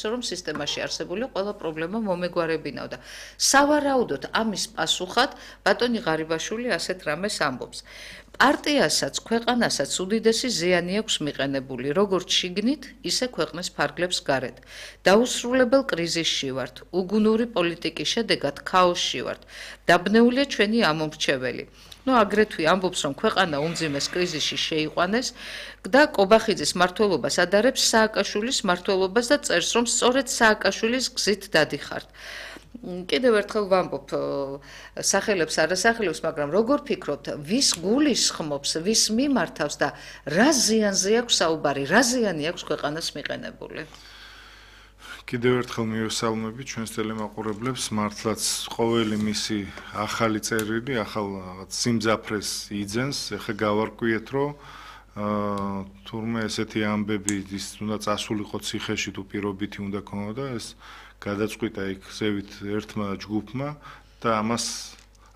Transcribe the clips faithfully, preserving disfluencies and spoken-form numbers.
იმედებს, რომ სისტემაში არსებული ყველა პრობლემა მომეგვარებინავდა. სავარაუდოდ ამის პასუხად ბატონი ღარიბაშვილი ასეთ რამეს ამბობს. პარტიასაც, ქვეყანასაც უდიდესი ზიანი აქვს მიყენებული, როგორც შიგნით, ისე ქვეყნის ფარგლებს გარეთ. დაუსრულებელ კრიზისში ვართ, უგუნური პოლიტიკის შედეგად ქაოსში ვართ. დაბნეულია ჩვენი ამომრჩეველი. ნუ აგრეთვე ამბობს, რომ ქვეყანა უმძიმეს კრიზისში შეიყვანეს და კობახიძის მმართველობას ადარებს სააკაშვილის მმართველობას და წერს, რომ სწორედ სააკაშვილის გზით დადიხართ. კიდევ ერთხელ ვამბობ სახელებს არასახელებს, მაგრამ როგორ ფიქრობთ, ვის გულისხმობს, ვის მიმართავს და რა ზიანზე აქვს საუბარი, რა ზიანი აქვს ქვეყანას მიყენებული? კიდევ ერთხელ მივესალმები ჩვენს ტელემაყურებლებს, მართლაც ყოველი მისი ახალი წერილი, ახალ რაღაც სიმძაფრეს იძენს, ეხლა გავარკვიეთ, რომ თურმე ესეთი ამბები ის უნდა წასულიყო ციხეში თუ პირობითი უნდა ქონოდა, ეს გადაწყვიტა იქ ზევით ერთმა ჯგუფმა და ამას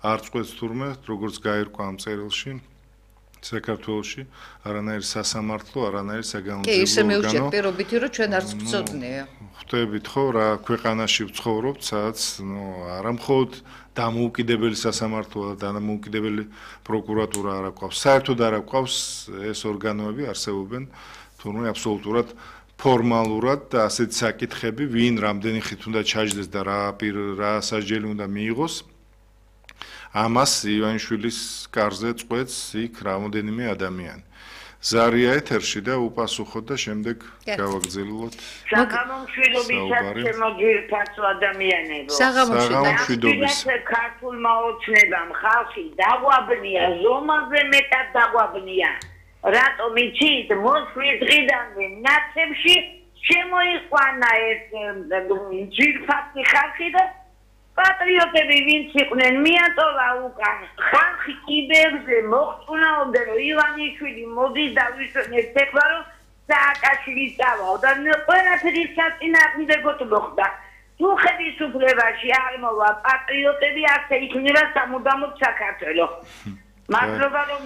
არ წყვეტს თურმე, როგორც გაირკვა ამ წერილში. საქართველოში არანაირი სასამართლო, არანაირი საგანმანათლებლო ორგანო. კი, ისე მივჭირთ პირობითი, რომ ჩვენ არც გვწოდნია. ხვდებით ხო, რა ქვეყანაში ვცხოვრობთ, სადაც ნუ არა მხოლოდ დამოუკიდებელი სასამართლო და დამოუკიდებელი პროკურატურა არ აქვს. საერთოდ არ აქვს ეს ორგანოები არსებობენ, თურმე აბსოლუტურად ფორმალურად და ასეთ საკითხები, ვინ რამდენი ხით უნდა ჩაჯდეს და რა რა სასჯელი უნდა მიიღოს. ამას ივანიშვილის კარზე წყვეტს იქ რამოდენიმე ადამიანი. ზარია ეთერში და უპასუხოთ და შემდეგ გავაგრძელოთ. საღამომშვიდობისაც ჩემო ძირფასო ადამიანებო. საღამომშვიდობის. ქართულმა ოცნებამ ხალხი დაგვაბნია, ზომაზე მეტად დაგვაბნია. რატომ იცით, მოსვლის დღიდანვე ნაცებში შემოიყვანა ეს ძირფასი ხალხი და პატრიოტები ვინც იყვნენ მიატოვა უკან ხალხი კიბერზე მოხწუნაობდა რომ ივანიშვილი მოდის და ვისვენებს ეხლა რომ სააკაშვილი წავალ და ყველაფერი საწინააღმდეგოდ მოხდა თუ ხელისუფლებაში არ მოვა პატრიოტები ასე იქნება სამუდამოდ საქართველო მადლობა რომ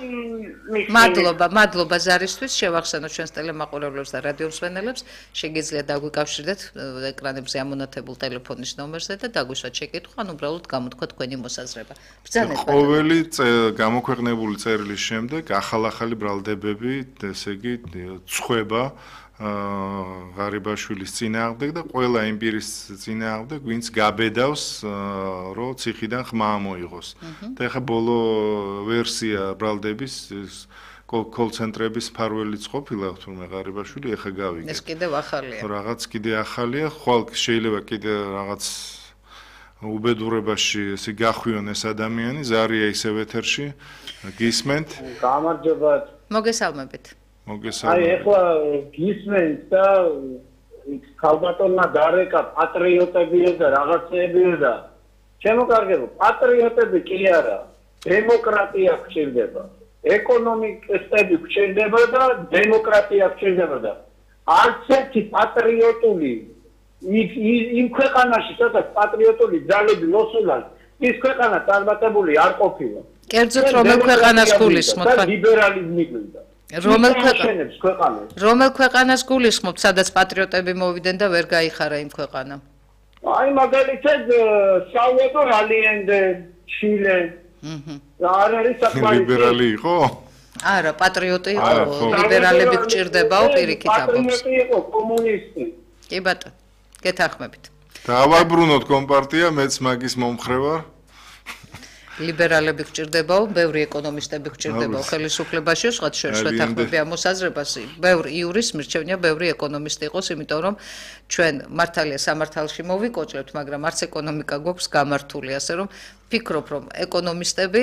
მადლობა მადლობა ზარისთვის შევახსენოთ ჩვენს ტელემაყურებლებს და რადიო მსმენელებს შეგიძლიათ დაგვიკავშირდეთ ეკრანებზე ამონათებულ ტელეფონის ნომერზე და დაგვისვათ შეკითხვა ან უბრალოდ გამოთქვა თქვენი მოსაზრება ბრძანეთ ყოველი გამოქვეყნებული წერილის შემდეგ ახალ-ახალი ბრალდებები ესე იგი წვება ღარიბაშვილის წინააღმდეგ და ყველა იმპირის წინააღმდეგ, ვინც გაბედავს, რომ ციხიდან ხმა მოიღოს. და ეხა ბოლო ვერსია ბრალდების კოლ-ცენტრების ფარველიც ყოფილა, თუმცა ღარიბაშვილი ეხა გავიგე. ეს კიდევ ახალია. რაღაც კიდე ახალია, ხვალ შეიძლება კიდე რაღაც უბედურებაში ესე გახვიონ ეს ადამიანი, ზარია ისევ ეთერში, გისმენთ. გამარჯობა. მოგესალმებით. აი ეხლა გისმენთ და ქალბატონმა დარეკა პატრიოტებია და რაღაცეებია და შემოკარგებო პატრიოტები კი არა დემოკრატია გჭირდება ეკონომიკისტები გჭირდება და დემოკრატია გჭირდება და არც ერთი პატრიოტული იმ ქვეყანაში სადაც პატრიოტული ძალები მოსულან ის ქვეყანა წარმატებული არ ყოფილა კერძოდ რომელ ქვეყანას გულისხმობთ და ლიბერალიზმი გვინდა რომელ ქვეყანას რომელ ქვეყანას გულისხმობთ, სადაც პატრიოტები მოვიდნენ და ვერ გაიხარა იმ ქვეყანამ? აი მაგალითად საუედო ალიენდე, ჩილე. აჰა. არ არის საკმარისი. ლიბერალი იყო? არა, პატრიოტი იყო, ლიბერალები გჭირდებაო პირიქით ამბობს. პატრიოტი იყო, კომუნისტი. კი ბატონო, გეთანხმებით. დავაბრუნოთ კომპარტია, მეც მაგის მომხრე ვარ. ლიბერალები გჭირდებაო, ბევრი ეკონომისტები გჭირდებაო ხელისუფლებაში, სხვათა შორის შეთანხმები ამ მოსაზრებას, ბევრი იურის მირჩევნია, ბევრი ეკონომისტი იყოს, იმიტომ რომ ჩვენ მართალია სამართალში მოვიკოჭლებთ, მაგრამ არც ეკონომიკა გვაქვს გამართული, ასე რომ ფიქრობ, რომ ეკონომისტები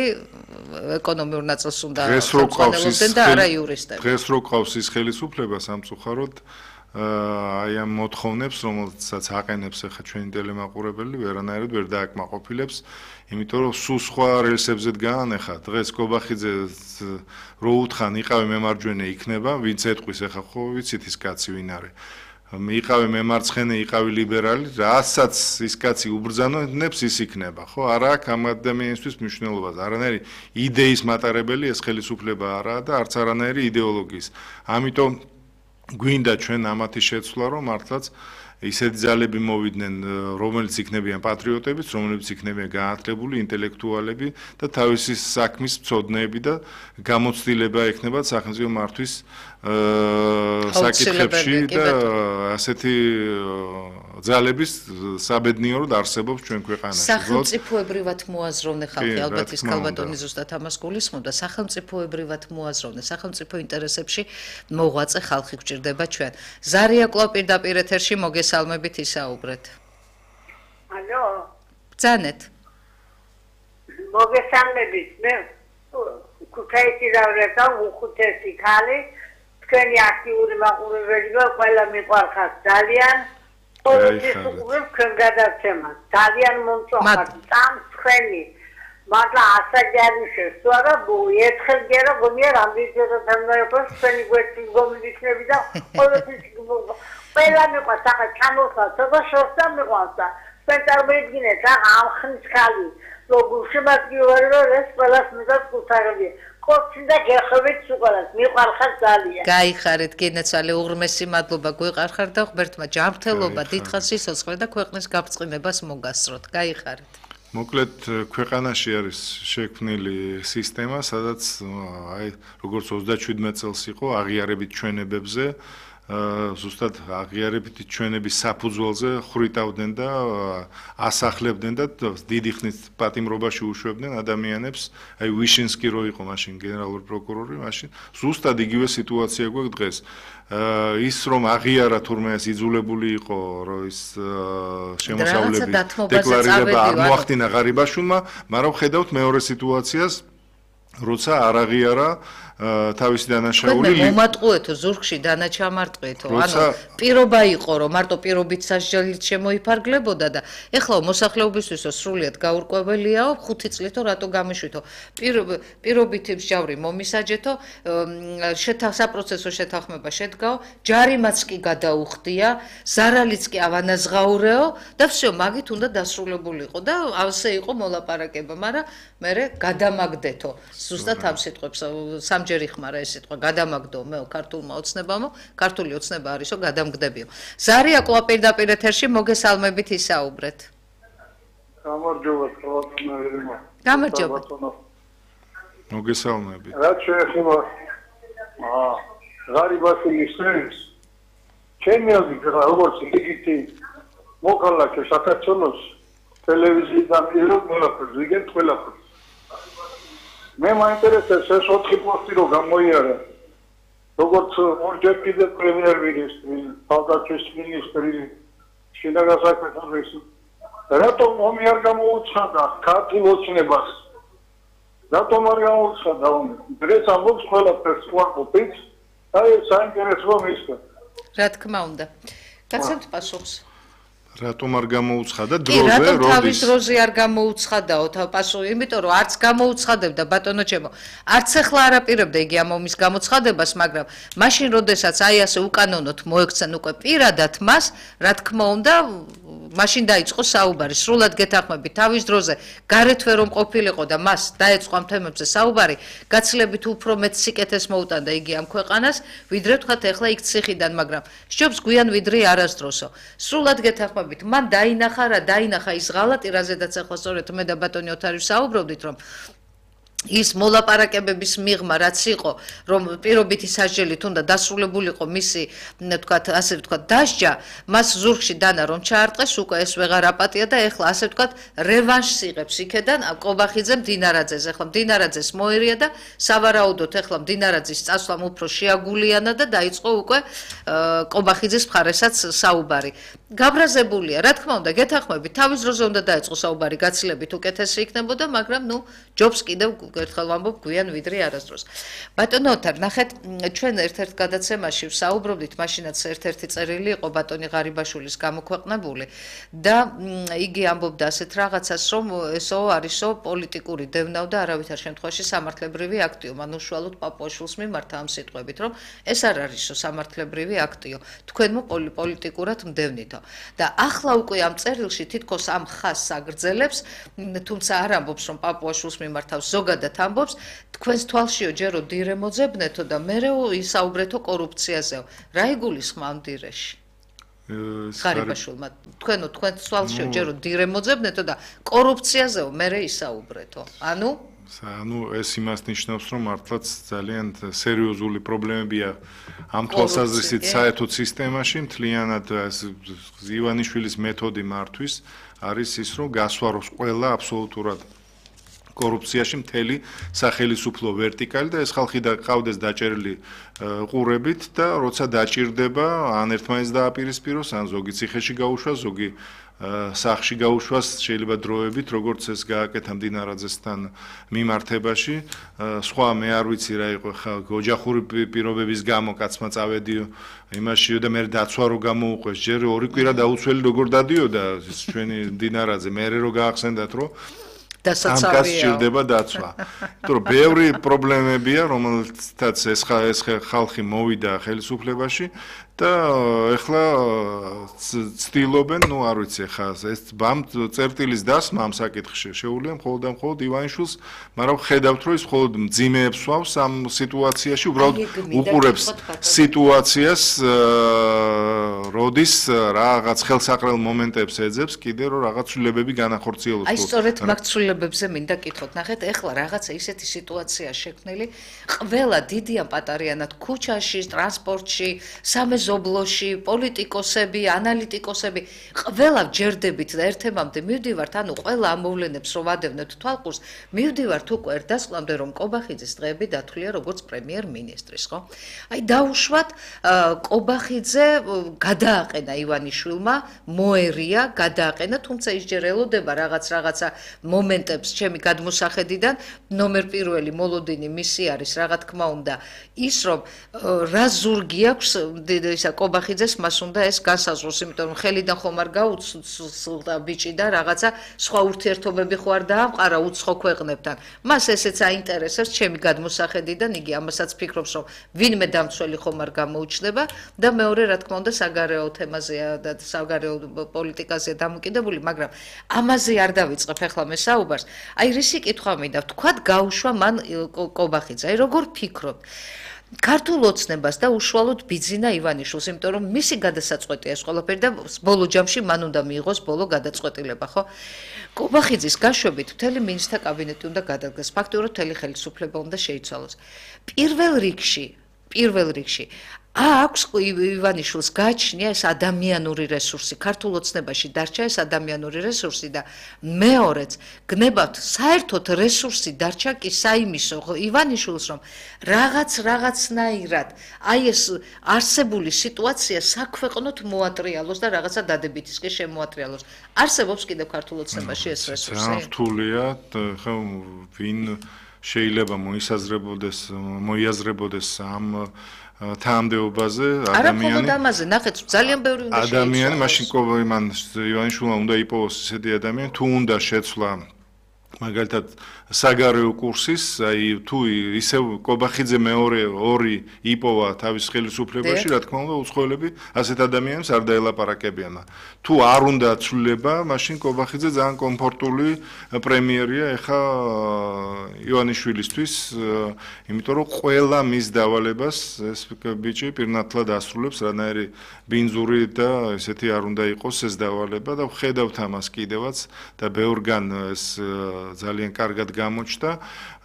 ეკონომიურ ნაწილს უნდა ხელმძღვანელობდნენ და არა იურისტები. დღეს რო ყავს ის ხელისუფლება სამწუხაროდ აი ამ მოთხოვნებს, რომელსაც აყენებს ახლა ჩვენი ტელემაყურებელი, ვერანაირად ვერ დააკმაყოფილებს, იმიტომ რომ სულ სხვა რელსებზე გაანეხა. დღეს კობახიძე რო უთხრან იყავი მემარჯვენე იქნება, ვინც ეთყვის ახლა ხო ვიცით ის კაცი ვინ არის. იყავი მემარცხენე, იყავი ლიბერალი, რასაც ის კაცი უბრძანებს, ის იქნება, ხო? არა აქვს ამ ადამიანისთვის მნიშვნელობას. არანაირი იდეის მატარებელი ეს ხელისუფლება არაა და არც არანაირი იდეოლოგიის. ამიტომ გვინდა ჩვენ ამათი შეცვლა, რომ მართლაც ისეთი ძალები მოვიდნენ, რომელიც იქნებიან პატრიოტებიც, რომლებიც იქნებიან გაათლებული ინტელექტუალები და თავისი საქმის მცოდნეები და გამოცდილება ექნებათ სახელმწიფო მართვის საკითხებში და ასეთი ძალების საბედნიეროდ არსებობს ჩვენ ქვეყანაში. სახელმწიფოებრივად მოაზროვნე ხალხი, ალბათ ის ქალბატონი ზუსტად ამას გულისხმობდა, სახელმწიფოებრივად მოაზროვნე, სახელმწიფო ინტერესებში მოღვაწე ხალხი გვჭირდება ჩვენ. ზარია კვლავ პირდაპირ ეთერში მოგესალმებით ისაუბრეთ. ალო. ბრძანეთ. მოგესალმებით, მე ქუთაისში დავრეთა უხუთესი ხალი, თქვენი აქტიური მაყურებელი ვარ, ყველა მიყვარხარ ძალიან. ყოველთვის უყურებ თქვენ გადაცემას. ძალიან მომწონხარ, წამსხვენი. მაგრამ ასეთი არის შეცვალა, ერთხელ გერა გონია რამდენჯერმე თამბაიოს თქვენი გვერდით გომიჩნები და ყოველთვის ყველა მიყვარს, ახლა ჩამოსვლა და შორსა მიყვარს და თქვენ წარმოიდგინეთ, ახლა ამ ხნის ხალი, როგორ შემაგიوارება ეს ყველას მიდას კუთარები. კოცინდა გეხებით უყარას, მიყვარხარ ძალიან. გაიხარეთ, გენაცვალე უღრმესი მადლობა გვიყარხარ და ღმერთმა ჯანმრთელობა, დიდხანს სიცოცხლე და ქვეყნის გაბრწყინებას მოგასწროთ. გაიხარეთ. მოკლედ ქვეყანაში არის შექმნილი სისტემა, სადაც აი როგორც ოცდაშვიდმეტ წელს იყო აღიარებით ჩვენებებზე, ზუსტად აღიარებით ჩვენების საფუძველზე ხრიტავდნენ და ასახლებდნენ და დიდი ხნის პატიმრობაში უშვებდნენ ადამიანებს. აი ვიშინსკი რო იყო მაშინ გენერალური პროკურორი, მაშინ ზუსტად იგივე სიტუაცია გვაქვს დღეს. ის რომ აღიარა თურმე ეს იძულებული იყო რომ ის შემოსავლების დეკლარირება არ მოახდინა ღარიბაშვილმა, მაგრამ ხედავთ მეორე სიტუაციას, როცა არ აღიარა თავისი დანაშაული მომატყუეთო ზურგში დანაჩამარტყეთო ანუ პირობა იყო რომ მარტო პირობით სასჯელით შემოიფარგლებოდა და ეხლა მოსახლეობისთვისო სრულიად გაურკვეველიაო ხუთი წლითო რატო გამიშვითო პირობით მსჯავრი მომისაჯეთო საპროცესო შეთანხმება შედგაო ჯარიმაც კი გადაუხდია ზარალიც კი ავანაზღაურეო და всё მაგით უნდა დასრულებულიყო და ასე იყო მოლაპარაკება მაგრამ მე გადამაგდეთო ზუსტად ამ სიტყვებს ჯერ იხმარა ეს სიტყვა გადამაგდო მე ქართულმა ოცნებამო ქართული ოცნება არისო გადამგდებიო ზარია კვლავ პირდაპირ ეთერში მოგესალმებით ისაუბრეთ გამარჯობა ხალხო გამარჯობა მოგესალმებით რა შეეხება აა ღარიბაშვილის სენს ჩემი აზრით როგორც იგივე მოკალაკე საქართველოს ტელევიზიიდან მიიღო ყველაფერს ვიგებ ყველაფერს მე მაინტერესებს ეს ოთხი პოსტი რო გამოიარა როგორც ორჯერ კიდე პრემიერ-მინისტრი, თავდაცვის მინისტრი, შინაგან საქმეთა მინისტრი რატომ ომი არ გამოუცხადა ქართულ ოცნებას რატომ არ გამოუცხადა ომი დღეს ამბობს ყველაფერს უარყოფით აი საინტერესო მისგან რა თქმა უნდა გაცემთ პასუხს რატომ არ გამოუცხადა დროზე როდის? რატომ თავის დროზე არ გამოუცხადაო პასუხი, იმიტომ რომ არც გამოუცხადებდა ბატონო ჩემო. არც ახლა არ აპირებდა იგი ამ ომის გამოცხადებას, მაგრამ მაშინ როდესაც აი ასე უკანონოდ მოექცენ უკვე პირადად მას, რა თქმა უნდა, მაშინ დაიწყო საუბარი. სრულად გეთანხმებით თავის დროზე გარეთვე რომ ყოფილიყო და მას დაეწყო ამ თემებზე საუბარი, გაცილებით უფრო მეტ სიკეთეს მოუტანდა იგი ამ ქვეყანას, ვიდრე თქვათ ახლა იქ ციხიდან, მაგრამ სჯობს გვიან ვიდრე არასდროსო. სრულად გეთანხმებით მან დაინახა რა დაინახა ის ღალატი რაზედაც ახლა სწორედ მე და ბატონი ოთარი ვსაუბრობდით რომ ის მოლაპარაკებების მიღმა რაც იყო რომ პირობითი სასჯელით უნდა დასრულებულიყო მისი თქვათ ასე ვთქვათ დასჯა მას ზურგში დანა რომ ჩაარტყეს უკვე ეს ვეღარ აპატია და ეხლა ასე ვთქვათ რევანშს იღებს იქედან კობახიძე მდინარაძეს ეხლა მდინარაძეს მოერია და სავარაუდოდ ეხლა მდინარაძის წასვლამ უფრო შეაგულიანა და დაიწყო უკვე კობახიძის მხარესაც საუბარი გაბრაზებულია რა თქმა უნდა გეთანხმებით თავის დროზე უნდა დაეწყო საუბარი გაცილებით უკეთესი იქნებოდა მაგრამ ნუ ჯობს კიდევ ერთხელ ვამბობ გვიან ვიდრე არასდროს. ბატონო ოთარ, ნახეთ, ჩვენ ერთ-ერთ გადაცემაში ვსაუბრობდით, მაშინაც ერთ-ერთი წერილი იყო ბატონი ღარიბაშვილის გამოქვეყნებული და იგი ამბობდა ასეთ რაღაცას, რომ ესო არისო პოლიტიკური დევნაო და არავითარ შემთხვევაში სამართლებრივი აქტიო, მან უშუალოდ პაპუაშვილს მიმართა ამ სიტყვებით, რომ ეს არ არისო სამართლებრივი აქტიო, თქვენმო პოლიტიკურად მდევნითო. და ახლა უკვე ამ წერილში თითქოს ამ ხაზს აგრძელებს, თუმცა არ ამბობს, რომ პაპუაშვილს მიმართავს ზოგადად ამბობს თქვენს თვალშიო ჯერო დირე მოძებნეთო და მერე ისაუბრეთო კორუფციაზეო. რა იგულისხმავ დირეში? ღარიბაშვილმა თქვენო თქვენ სვალს შევჯერო დირემოძებნეთო და კორუფციაზეო მერე ისაუბრეთო ანუ ანუ ეს იმას ნიშნავს რომ მართლაც ძალიან სერიოზული პრობლემებია ამ თვალსაზრისით საერთოდ სისტემაში მთლიანად ივანიშვილის მეთოდი მართვის არის ის რომ გასვაროს ყველა აბსოლუტურად კორუფციაში მთელი სახელისუფლო ვერტიკალი და ეს ხალხი ყავდეს დაჭერილი ყურებით და როცა დაჭირდება ან ერთმანეთს დააპირისპიროს ან ზოგი ციხეში გაუშვას ზოგი სახში გაუშვას შეიძლება დროებით როგორც ეს გააკეთა მდინარაძესთან მიმართებაში სხვა მე არ ვიცი რა იყო ხა ოჯახური პირობების გამო კაცმა წავედიო იმაში და მე დაცვა რო გამოუყვეს ჯერ ორი კვირა დაუცველი როგორ დადიოდა ჩვენი მდინარაძე მე რო გაახსენდათ რომ ამ კაცს სჭირდება დაცვა. იმიტომ რომ ბევრი პრობლემებია, რომელთაც ეს ეს ხალხი მოვიდა ხელისუფლებაში და ეხლა ცდილობენ, ну არ ვიცი, ხა ეს ბამ წერტილის დასმა ამ საკითხში შეუძლია მხოლოდ და მხოლოდ ივანიშვილს, მაგრამ ხედავთ რომ ის მხოლოდ მძიმეებს ვავს ამ სიტუაციაში, უბრალოდ უყურებს სიტუაციას, როდის რაღაც ხელსაყრელ მომენტებს ეძებს, კიდე რომ რაღაც ცვლილებები განახორციელოს. აი სწორედ მაგ ცვლილებებზე მინდა კითხოთ. ნახეთ, ეხლა რაღაცა ისეთი სიტუაცია შექმნილი, ყველა დიდი ან პატარიანად ქუჩაში, ტრანსპორტში, სამეზობლოში, პოლიტიკოსები, ანალიტიკოსები, ყველა ჯერდებით და ერთემამდე მივდივართ, ანუ ყველა ამოვლენებს რო ვადევნებთ თვალყურს, მივდივართ უკვე ერთ დასკვნამდე, რომ კობახიძის დღეები დათვლია როგორც პრემიერ-მინისტრის, ხო? აი დაუშვათ კობახიძე გადააყენა ივანიშვილმა, მოერია, გადააყენა, თუმცა ის ჯერ ელოდება რაღაც რაღაცა მომენტებს ჩემი გადმოსახედიდან, ნომერ პირველი მოლოდინი მისი არის, რა თქმა უნდა, ის რომ რა ზურგი აქვს ისა კობახიძეს მას უნდა ეს განსაზღვროს, იმიტომ რომ ხელიდან ხომ არ გაუცლდა ბიჭი და რაღაცა სხვა ურთიერთობები ხო არ დაამყარა უცხო ქვეყნებთან. მას ესეც აინტერესებს ჩემი გადმოსახედიდან, იგი ამასაც ფიქრობს, რომ ვინმე დამცველი ხომ არ გამოუჩნდება და მეორე რა თქმა უნდა საგარეო თემაზეა და საგარეო პოლიტიკაზეა დამოკიდებული, მაგრამ ამაზე არ დავიწყებ ახლა მე საუბარს. აი რისი კითხვა მინდა, თქვათ გაუშვა მან კობახიძე, აი როგორ ფიქრობთ? ქართულ ოცნებას და უშუალოდ ბიძინა ივანიშვილს, იმიტომ რომ მისი გადასაწყვეტია ეს ყველაფერი და ბოლო ჯამში მან უნდა მიიღოს ბოლო გადაწყვეტილება, ხო? კობახიძის გაშვებით მთელი მინისტრთა კაბინეტი უნდა გადადგეს, ფაქტობრივად მთელი ხელისუფლება უნდა შეიცვალოს. პირველ რიგში, პირველ რიგში აქვს ივანიშვილს გააჩნია ეს ადამიანური რესურსი, ქართულ ოცნებაში დარჩა ეს ადამიანური რესურსი და მეორეც გნებავთ საერთოდ რესურსი დარჩა კი საიმისო ივანიშვილს რომ რაღაც რაღაცნაირად აი ეს არსებული სიტუაცია საქვეყნოთ მოატრიალოს და რაღაცა დადებითისკენ შემოატრიალოს. არსებობს კიდევ ქართულ ოცნებაში ეს რესურსი? რთულია, ხო ვინ შეიძლება მოისაზრებოდეს, მოიაზრებოდეს ამ თანამდებობაზე ადამიანი არა მხოლოდ ამაზე ნახეთ ძალიან ბევრი უნდა შეიცვალოს ადამიანი მაშინ მან ივანიშვილმა უნდა იპოვოს ესეთი ადამიანი თუ უნდა შეცვლა მაგალითად საგარეო კურსის აი თუ ისევ კობახიძე მეორე ორი იპოვა თავის ხელისუფლებაში რა თქმა უნდა უცხოელები ასეთ ადამიანებს არ დაელაპარაკებიან თუ არ უნდა ცვლილება მაშინ კობახიძე ძალიან კომფორტული პრემიერია ეხა ივანიშვილისთვის იმიტომ რომ ყველა მის დავალებას ეს ბიჭი პირნათლად ასრულებს რანაირი ბინძური და ესეთი არ უნდა იყოს ეს დავალება და ვხედავთ ამას კიდევაც და ბევრგან ეს ძალიან კარგად გამოჩნდა.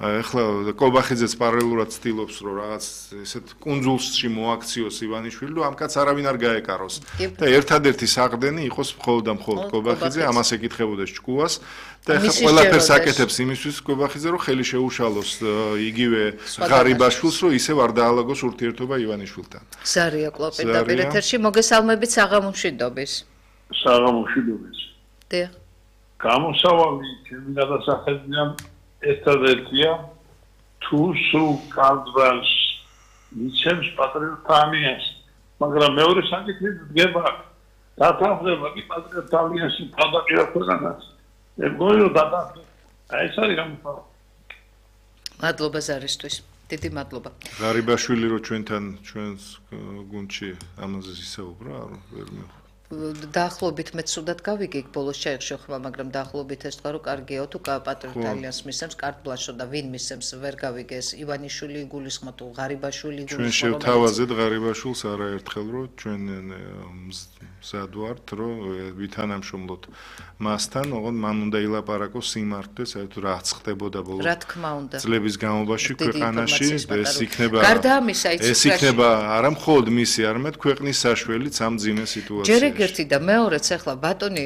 ეხლა კობახიძეც პარალელურად ცდილობს, რომ რაღაც ესეთ კუნძულში მოაქციოს ივანიშვილი, რომ ამ კაცს არავინ არ გაეკაროს. და ერთადერთი საყრდენი იყოს მხოლოდ და მხოლოდ კობახიძე, ამას ეკითხებოდეს ჭკუას და ეხლა ყველაფერს აკეთებს იმისთვის კობახიძე, რომ ხელი შეუშალოს იგივე ღარიბაშვილს, რომ ისევ არ დაალაგოს ურთიერთობა ივანიშვილთან. ზარია კვლავ პირდაპირ ეთერში მოგესალმებით საღამომშვიდობის. საღამომშვიდობის. დიახ. გამოსავალი ჩემი გადასახედიდან ერთადერთია თუ სულ კადრს მიცემს პატრიოტთა ალიანსი მაგრამ მეორე საკითხი დგება დათანხმდება კი პატრიოტთა ალიანსი თავდაპირველ ქვეყანას მეგონი რომ დათანხმდება აი ეს არის გამოსავალი მადლობა ზარისთვის დიდი მადლობა ღარიბაშვილი რო ჩვენთან ჩვენს გუნდში ამაზე ისაუბრა ვერ მეხ დაახლოებით მე ცუდად გავიგე ბოლოს შეეხშოხმა მაგრამ დაახლოებით ეს თქვა რომ კარგია თუ პატრიოტთა ალიანსს მისცემს კარტ ბლანშო და ვინ მისცემს ვერ გავიგე ეს ივანიშვილი იგულისხმო თუ ღარიბაშვილი იგულისხმო ჩვენ შევთავაზეთ ღარიბაშვილს არაერთხელ რომ ჩვენ მზად ვართ, რომ ვითანამშრომლოთ მასთან, ოღონდ მან უნდა ილაპარაკოს სიმართლე, საერთოდ რაც ხდებოდა ბოლო წლების განმავლობაში ქვეყანაში, ეს იქნება ეს იქნება არა მხოლოდ მისი, არამედ ქვეყნის საშველიც ამ ძიმე სიტუაციაში. ჯერ ეგერთი და მეორეც ახლა ბატონი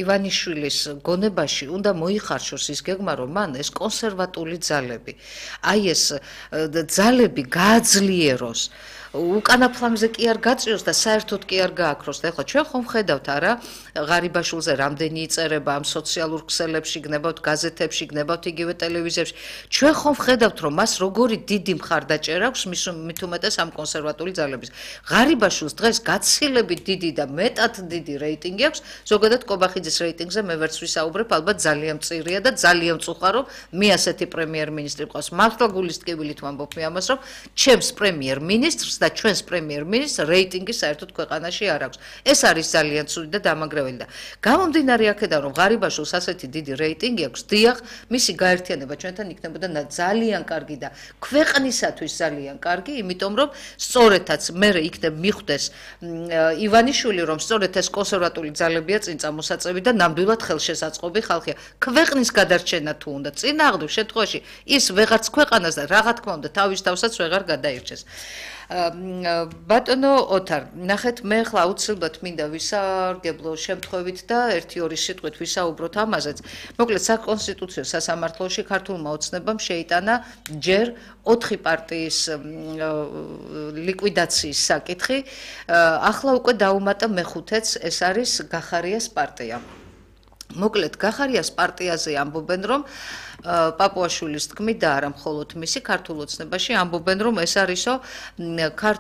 ივანიშვილის გონებაში უნდა მოიხარშოს ის გეგმა, რომ მან ეს კონსერვატული ძალები, აი ეს ძალები გააძლიეროს. უკანა ფლანგზე კი არ გაწიოს და საერთოდ კი არ გააქროს. და ახლა ჩვენ ხომ ხედავთ არა ღარიბაშვილზე რამდენი იწერება ამ სოციალურ ქსელებში, გნებავთ გაზეთებში, გნებავთ იგივე ტელევიზიებში. ჩვენ ხომ ხედავთ რომ მას როგორი დიდი მხარდაჭერა აქვს მით უმეტეს ამ კონსერვატული ძალების. ღარიბაშვილს დღეს გაცილებით დიდი და მეტად დიდი რეიტინგი აქვს. ზოგადად კობახიძის რეიტინგზე მე ვერც ვისაუბრებ, ალბათ ძალიან მწირია და ძალიან მწუხარო, მე ასეთი პრემიერ-მინისტრი მყავს. მართლა გულის ტკივილით ვამბობ მე ამას, რომ ჩემს პრემიერ-მინისტრს და ჩვენს პრემიერ-მინისტრს რეიტინგი საერთოდ ქვეყანაში არ აქვს. ეს არის ძალიან ცუდი და დამაგრეველი და გამომდინარე აქედან რომ ღარიბაშვილს ასეთი დიდი რეიტინგი აქვს, დიახ, მისი გაერთიანება ჩვენთან იქნებოდა ძალიან კარგი და ქვეყნისათვის ძალიან კარგი, იმიტომ რომ სწორედაც მე იქნებ მიხვდეს ივანიშვილი, რომ სწორედ ეს კონსერვატული ძალებია წინ წამოსაწევი და ნამდვილად ხელშესაწყობი ხალხია. ქვეყნის გადარჩენა თუ უნდა წინააღმდეგ შემთხვევაში ის ვეღარც ქვეყანას და რა თქმა უნდა თავის თავსაც ვეღარ გადაირჩეს. ბატონო ოთარ, ნახეთ მე ახლა აუცილებლად მინდა ვისარგებლო შემთხვევით და ერთი-ორი სიტყვით ვისაუბროთ ამაზეც. მოკლედ საკონსტიტუციო სასამართლოში ქართულმა ოცნებამ შეიტანა ჯერ ოთხი პარტიის ლიკვიდაციის საკითხი, ახლა უკვე დაუმატა მეხუთეც, ეს არის გახარიას პარტია. მოკლედ გახარიას პარტიაზე ამბობენ რომ პაპუაშვილის თქმით და არა მხოლოდ მისი ქართულ ოცნებაში ამბობენ რომ ეს არისო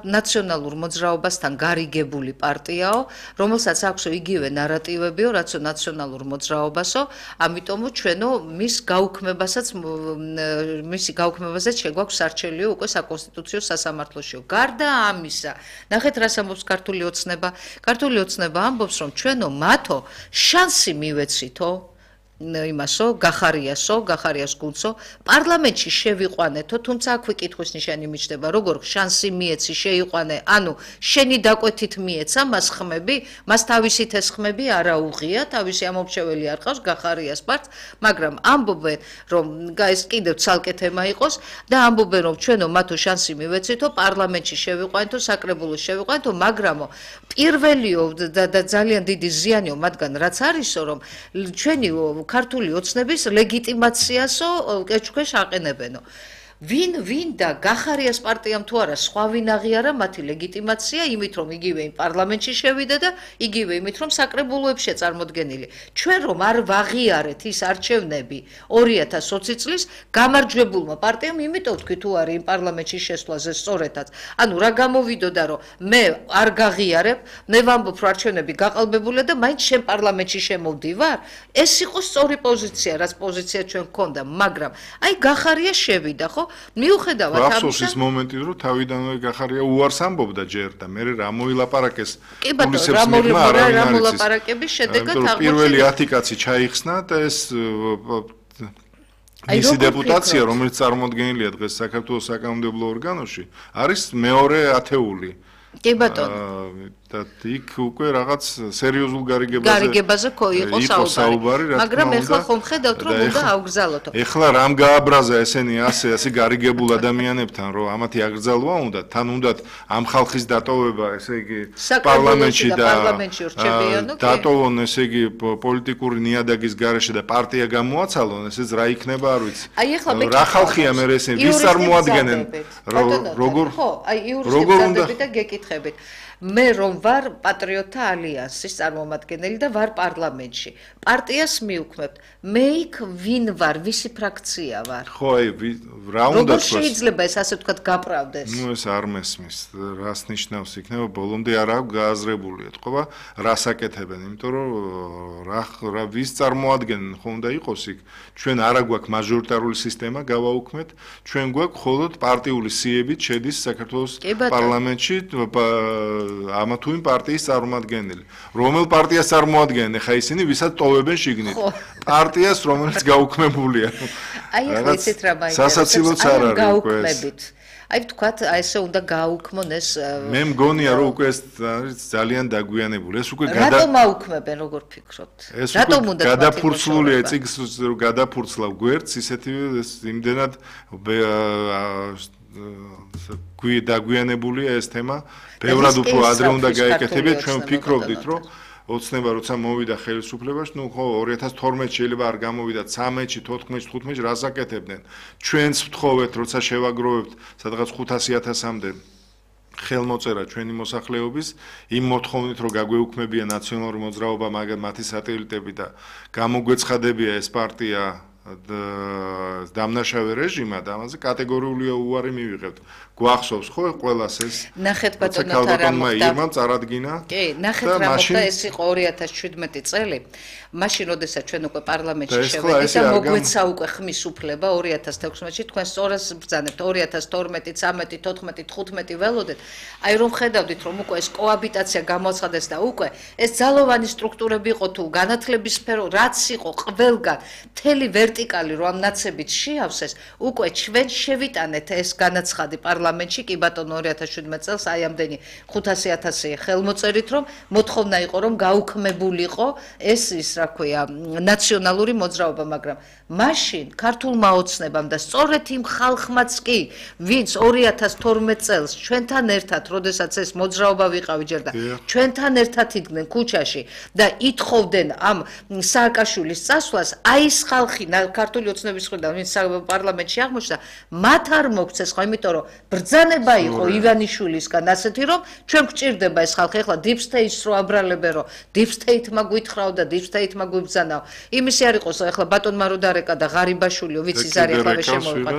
ნაციონალურ მოძრაობასთან გარიგებული პარტიაო, რომელსაც აქვსო იგივე ნარატივებიო, რაცო ნაციონალურ მოძრაობასო, ამიტომო ჩვენო მის გაუქმებასაც მისი გაუქმებასაც შეგვაქვს სარჩელიო უკვე საკონსტიტუციო სასამართლოშიო. გარდა ამისა, ნახეთ რას ამბობს ქართული ოცნება. ქართული ოცნება ამბობს რომ ჩვენო მათო შანსი მივეცითო იმასო, გახარიასო, გახარიას გუნცო, პარლამენტში შევიყვანეთო, თუმცა აქვე კითხვის ნიშანი მიჩნდება, როგორ შანსი მიეცი შეიყვანე, ანუ შენი დაკვეთით მიეცა მას ხმები, მას თავისით ეს ხმები არ აუღია, თავისი ამომრჩეველი არ ყავს გახარიას პარტს, მაგრამ ამბობენ, რომ ეს კიდევ ცალკე თემა იყოს და ამბობენ, რომ ჩვენო მათო შანსი მივეცითო, პარლამენტში შევიყვანეთო, საკრებულოში შევიყვანეთო, მაგრამო პირველიო და ძალიან დიდი ზიანიო მათგან რაც არისო, რომ ჩვენი ქართული ოცნების ლეგიტიმაციასო კეჩქვეშ აყენებენო. ვინ ვინ და გახარიას პარტიამ თუ არა სხვა ვინ აღიარა მათი ლეგიტიმაცია იმით რომ იგივე იმ პარლამენტში შევიდა და იგივე იმით რომ საკრებულოებშია წარმოდგენილი. ჩვენ რომ არ ვაღიარეთ ის არჩევნები ორი ათას ოცი წლის გამარჯვებულმა პარტიამ იმიტომ თქვი თუ არის იმ პარლამენტში შესვლაზე სწორედაც. ანუ რა გამოვიდოდა რომ მე არ გაღიარებ, მე ვამბობ რომ არჩევნები გაყალბებულია და მაინც შენ პარლამენტში შემოვდივარ. ეს იყო სწორი პოზიცია, რაც პოზიცია ჩვენ გქონდა, მაგრამ აი გახარია შევიდა, ხო? მიუხედავად ამისა, ახსოვს ის მომენტი, რომ თავიდანვე გახარია უარს ამბობდა ჯერ და მე რა მოილაპარაკეს პოლიციებს მიღმა არავინ არ იცის. მოლაპარაკების შედეგად აღმოჩნდა პირველი ათი კაცი ჩაიხსნა და ეს მისი დეპუტაცია, რომელიც წარმოადგენილია დღეს საქართველოს საკანონმდებლო ორგანოში, არის მეორე ათეული. კი ბატონო. და იქ უკვე რაღაც სერიოზულ გარიგებაზე გარიგებაზე ხო იყო საუბარი, მაგრამ ეხლა ხომ ხედავთ რომ უნდა აუგზავნოთო. ეხლა რამ გააბრაზა ესენი ასე ასე გარიგებულ ადამიანებთან, რომ ამათი აკრძალვა უნდა, თან უნდათ ამ ხალხის დატოვება, ესე იგი პარლამენტში და დატოვონ, ესე იგი პოლიტიკური ნიადაგის გარეშე და პარტია გამოაცალონ, ესეც რა იქნება არ ვიცი. რა ხალხია მე ესენი ვის წარმოადგენენ? როგორ ხო, აი იურისტები და გეკითხებით. მე რომ ვარ პატრიოტთა ალიანსის წარმომადგენელი და ვარ პარლამენტში. პარტიას მივქმნებთ. მე იქ ვინ ვარ, ვისი ფრაქცია ვარ? ხო, აი, რა უნდა თქვას? როგორ შეიძლება ეს ასე ვთქვათ გაპრავდეს? ნუ ეს არ მესმის. რას ნიშნავს იქნება ბოლომდე არ აქვს გააზრებული ეთქობა, რას აკეთებენ, იმიტომ რომ რა რა ვის წარმოადგენენ ხო უნდა იყოს იქ. ჩვენ არა გვაქვს მაჟორიტარული სისტემა გავაუქმეთ, ჩვენ გვაქვს მხოლოდ პარტიული სიებით შედის საქართველოს პარლამენტში ამა თუ იმ პარტიის წარმომადგენელი. რომელ პარტიას წარმოადგენენ ხა ისინი, ვისაც ტოვებენ შიგნით? პარტიას, რომელიც გაუქმებულია. აი ახლა იცით რა მაინტერესებს? სასაცილოც არ არის უკვე ეს. აი ვთქვათ, აი ესე უნდა გააუქმონ ეს მე მგონია რომ უკვე ეს არის ძალიან დაგვიანებული. ეს უკვე გადა რატომ აუქმებენ, როგორ ფიქრობთ? რატომ უნდა გადაფურცლულია წიგს რომ გადაფურცლავ გვერდს, ისეთივე ეს იმდენად გვი დაგვიანებულია ეს თემა. ბევრად უფრო ადრე უნდა გაეკეთებინა, ჩვენ ვფიქრობდით რომ ოცნება როცა მოვიდა ხელისუფლებაში, ნუ ხო ორი ათას თორმეტი შეიძლება არ გამოვიდა, ცამეტში, თოთხმეტში, თხუთმეტში რას აკეთებდნენ? ჩვენც ვთხოვეთ, როცა შევაგროვებთ სადღაც ხუთასი ათასამდე ხელმოწერა ჩვენი მოსახლეობის იმ მოთხოვნით, რომ გაგვეუქმებია ნაციონალური მოძრაობა, მაგრამ მათი სატელიტები და გამოგვეცხადებია ეს პარტია დამნაშავე რეჟიმა და ამაზე კატეგორიული უარი მივიღებთ. გვახსოვს ხო ყველას ეს? ნახეთ ბატონო რა მოხდა? ირმამ წარადგინა. კი, ნახეთ რა მოხდა, ეს იყო ორი ათას შვიდმეტი წელი. მაშინ როდესაც ჩვენ უკვე პარლამენტში შევედით და მოგვეცა უკვე ხმის უფლება ორი ათას თექვსმეტში, თქვენ სწორას ბრძანებთ ორი ათას თორმეტი, ცამეტი, თოთხმეტი, თხუთმეტი ველოდეთ. აი რომ ხედავდით რომ უკვე ეს კოაბიტაცია გამოცხადეს და უკვე ეს ძალოვანი სტრუქტურები იყო თუ განათლების სფერო რაც იყო ყველგან მთელი ვერტიკალი რომ ამ ნაცებით შეავსეს, უკვე ჩვენ შევიტანეთ ეს განაცხადი პარლამენტში, კი ბატონო ორი ათას შვიდმეტი წელს აი ამდენი ხუთასი ათასი ხელმოწერით რომ მოთხოვნა იყო რომ გაუქმებულიყო ეს ის რა ქვია ნაციონალური მოძრაობა, მაგრამ მაშინ ქართულმა ოცნებამ და სწორედ იმ ხალხმაც კი, ვინც ორი ათას თორმეტი წელს ჩვენთან ერთად, როდესაც ეს მოძრაობა ვიყავი ჯერ და ჩვენთან ერთად იდგნენ ქუჩაში და ითხოვდნენ ამ სააკაშვილის წასვლას, აი ეს ხალხი ქართული ოცნების მხრიდან, ვინც პარლამენტში აღმოჩნდა, მათ არ მოგვცეს ხო, იმიტომ რომ ბრძანება იყო ივანიშვილისგან ასეთი, რომ ჩვენ გვჭირდება ეს ხალხი, ეხლა deep state-ს რო აბრალებენ, რომ deep state-მა გვითხრაო და deep state-მა გვიბრძანაო. იმისი არ იყოს, ეხლა ბატონმა რო დარეკა და ღარიბაშვილიო, ვიცი ის არის ეხლა შემოვიყვა.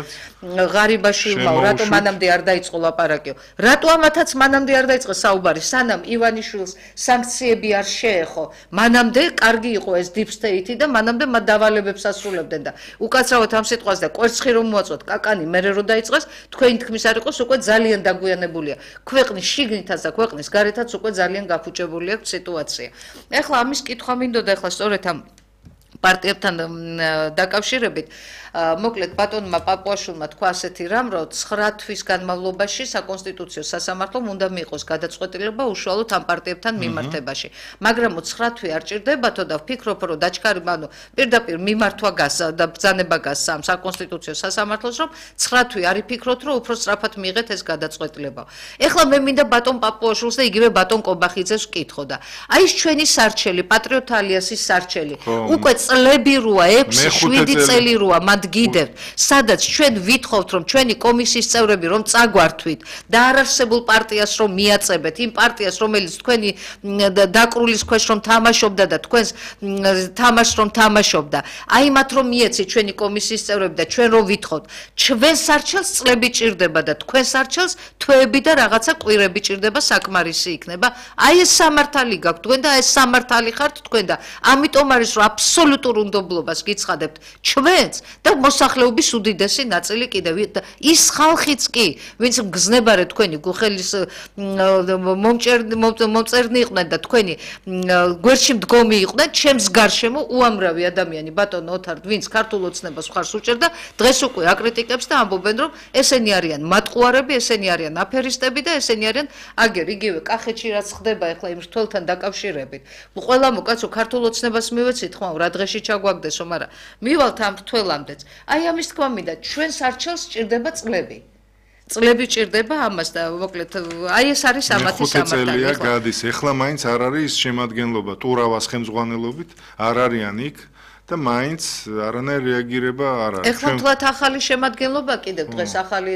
ღარიბაშვილმა რატომ მანამდე არ დაიწყო ლაპარაკიო? რატო ამათაც მანამდე არ დაიწყო საუბარი? სანამ ივანიშვილს სანქციები არ შეეხო, მანამდე კარგი იყო ეს deep state-ი და მანამდე მათ დავალებებს ასრულებდნენ და უკაცრავად ამ სიტყვას და კვერცხი რომ მოაწვათ კაკანი მერე რო დაიწყეს, თქვენი თქმის არ იყოს უკვე ძალიან დაგვიანებულია. ქვეყნის შიგნითაც და ქვეყნის გარეთაც უკვე ძალიან გაფუჭებული აქვს სიტუაცია. ეხლა ამის კითხვა მინდოდა ეხლა სწორედ ამ პარტიებთან დაკავშირებით მოკლედ ბატონმა პაპუაშვილმა თქვა ასეთი რამ, რომ ცხრა თვის განმავლობაში საკონსტიტუციო სასამართლომ უნდა მიიღოს გადაწყვეტილება უშუალოდ ამ პარტიებთან მიმართებაში. მაგრამ ცხრა თვე არ ჭირდებათო და ვფიქრობ, რომ დაჩქარი, ანუ პირდაპირ მიმართვა გას და ბრძანება გას ამ საკონსტიტუციო სასამართლოს, რომ ცხრა თვე არ იფიქროთ, რომ უფრო სწრაფად მიიღეთ ეს გადაწყვეტილება. ეხლა მე მინდა ბატონ პაპუაშვილს და იგივე ბატონ კობახიძეს ვკითხო და აი ეს ჩვენი სარჩელი, პატრიოტთა ალიანსის სარჩელი, უკვე წლები როა, ექვსი შვიდი წელი როა მან გიდევთ, სადაც ჩვენ ვითხოვთ, რომ ჩვენი კომისიის წევრები რომ წაგვართვით და არარსებულ პარტიას რომ მიაწებეთ, იმ პარტიას, რომელიც თქვენი დაკრულის ქვეშ რომ თამაშობდა და თქვენს თამაშს რომ თამაშობდა, აი მათ რომ მიეცით ჩვენი კომისიის წევრები და ჩვენ რომ ვითხოვთ, ჩვენ სარჩელს წლები ჭირდება და თქვენ სარჩელს თვეები და რაღაცა კვირები ჭირდება, საკმარისი იქნება. აი ეს სამართალი გაქვთ თქვენ და ეს სამართალი ხართ თქვენ და ამიტომ არის რომ აბსოლუტურ უნდობლობას გიცხადებთ ჩვენს და მოსახლეობის უდიდესი ნაწილი კიდევ ის ხალხიც კი, ვინც გზნებარე თქვენი გუხელის მომწერნი იყვნენ და თქვენი გვერდში მდგომი იყვნენ, ჩემს გარშემო უამრავი ადამიანი, ბატონო ოთარ, ვინც ქართულ ოცნებას მხარს უჭერდა, დღეს უკვე აკრიტიკებს და ამბობენ, რომ ესენი არიან მატყუარები, ესენი არიან აფერისტები და ესენი არიან აგერ იგივე კახეთში რაც ხდება ეხლა იმ რთველთან დაკავშირებით. ყველა მოკაცო ქართულ ოცნებას მივეცით ხმა რა დღეში ჩაგვაგდესო, მაგრამ მივალთ ამ რთველამდეც. აი ამის თქვა მინდა, ჩვენ სარჩელს ჭირდება წლები. წლები ჭირდება ამას და მოკლედ აი ეს არის ამათი სამართალი. ხუთი წელია გადის, ეხლა მაინც არ არის შემადგენლობა ტურავას ხელმძღვანელობით, არ არიან იქ და მაინც არანაირი რეაგირება არ არის. ეხლა თვათ ახალი შემადგენლობა კიდევ დღეს ახალი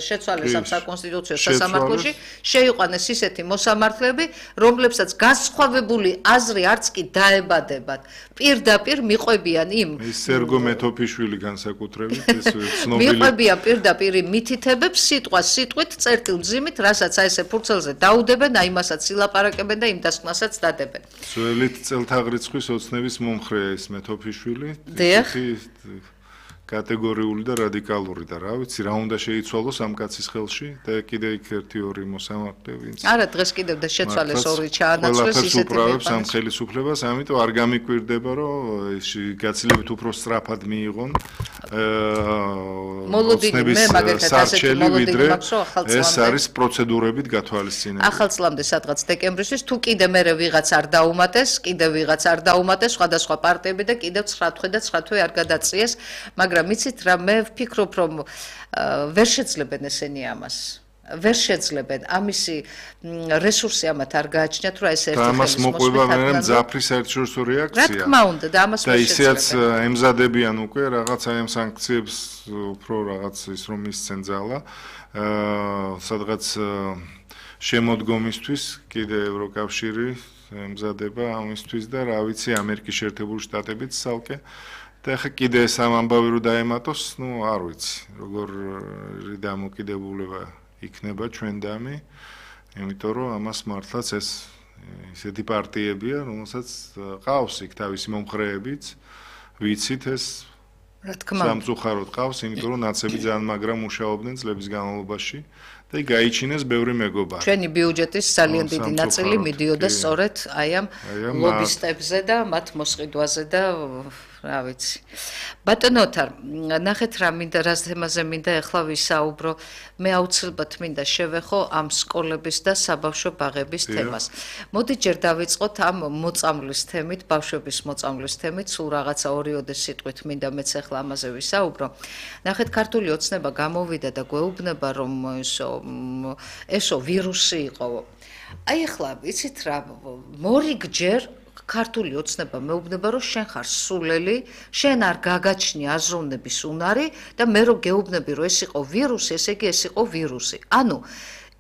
შეცვალეს ამ საკონსტიტუციო სასამართლოში, შეიყვანეს ისეთი მოსამართლეები, რომლებსაც განსხვავებული აზრი არც კი დაებადებათ. პირდაპირ მიყვებიან იმ სერგო მეთოფიშვილი განსაკუთრებით ეს ცნობილი მიყვებიან პირდაპირ მითითებებს სიტყვა სიტყვით წერტილ მძიმით, რასაც აი ესე ფურცელზე დაუდებენ, აი მასაც ილაპარაკებენ და იმ დასკვნასაც დადებენ. ძველით წელთაღრიცხვის ოცნების მომხრეა ეს მეთოფიშვილი. დიახ. კატეგორიული და რადიკალური და რა ვიცი რა უნდა შეიცვალოს ამ კაცის ხელში და კიდე იქ ერთი ორი მოსამართლე ვინც არა დღეს კიდევ და შეცვალეს ორი ჩაანაცვლეს ისეთი უправებს ამ ხელისუფლებას ამიტომ არ გამიკვირდება რომ გაცილებით უფრო სწრაფად მიიღონ მოლოდინი მე მაგალითად ასეთი მოლოდინი მაქვს რომ ახალწლამდე ეს არის პროცედურებით გათვალისწინებული ახალწლამდე სადღაც დეკემბრისთვის თუ კიდე მე ვიღაც არ დაუმატეს კიდე ვიღაც არ დაუმატეს სხვადასხვა პარტიები და კიდევ ცხრა თვე და ცხრა თვე არ გადაწიეს მაგრამ იცით რა მე ვფიქრობ რომ ვერ შეძლებენ ესენი ამას ვერ შეძლებენ ამისი რესურსი ამათ არ გააჩნიათ რომ ეს ერთი ხელის ამას მოყვება მე მძაფრი საერთაშორისო რეაქცია რა თქმა უნდა და ამას და ისეც ემზადებიან უკვე რაღაც აი ამ სანქციებს უფრო რაღაც ის რომ ისცენ ძალა სადღაც შემოდგომისთვის კიდე ევროკავშირი ემზადება ამისთვის და რა ვიცი ამერიკის შეერთებული შტატებიც ცალკე და ხა კიდე ეს ამ ამბავი რო დაემატოს ნუ არ ვიცი როგორ დამოკიდებულება იქნება ჩვენდამი იმიტომ რომ ამას მართლაც ეს ისეთი პარტიებია რომელსაც ყავს იქ თავისი მომხრეებიც ვიცით ეს რა თქმა უნდა სამწუხაროდ ყავს იმიტომ რომ ნაცები ძალიან მაგრა მუშაობდნენ წლების განმავლობაში და გაიჩინეს ბევრი მეგობარი ჩვენი ბიუჯეტის ძალიან დიდი ნაწილი მიდიოდა სწორედ აი ამ ლობისტებზე და მათ მოსყიდვაზე და რა ვიცი ბატონო ოთარ ნახეთ რა მინდა რა თემაზე მინდა ახლა ვისაუბრო მე აუცილებლად მინდა შევეხო ამ სკოლების და საბავშვო ბაღების თემას მოდი ჯერ დავიწყოთ ამ მოწამვლის თემით ბავშვების მოწამვლის თემით სულ რაღაცა ორიოდე სიტყვით მინდა მეც ახლა ამაზე ვისაუბრო ნახეთ ქართული ოცნება გამოვიდა და გვეუბნება რომ ესო ესო ვირუსი იყო აი ახლა იცით რა მორიგჯერ ქართული ოცნება მეუბნება რომ შენ ხარ სულელი, შენ არ გაგაჩნი აზროვნების უნარი და მე რო გეუბნები რომ ეს იყო ვირუსი, ესე იგი ეს იყო ვირუსი. ანუ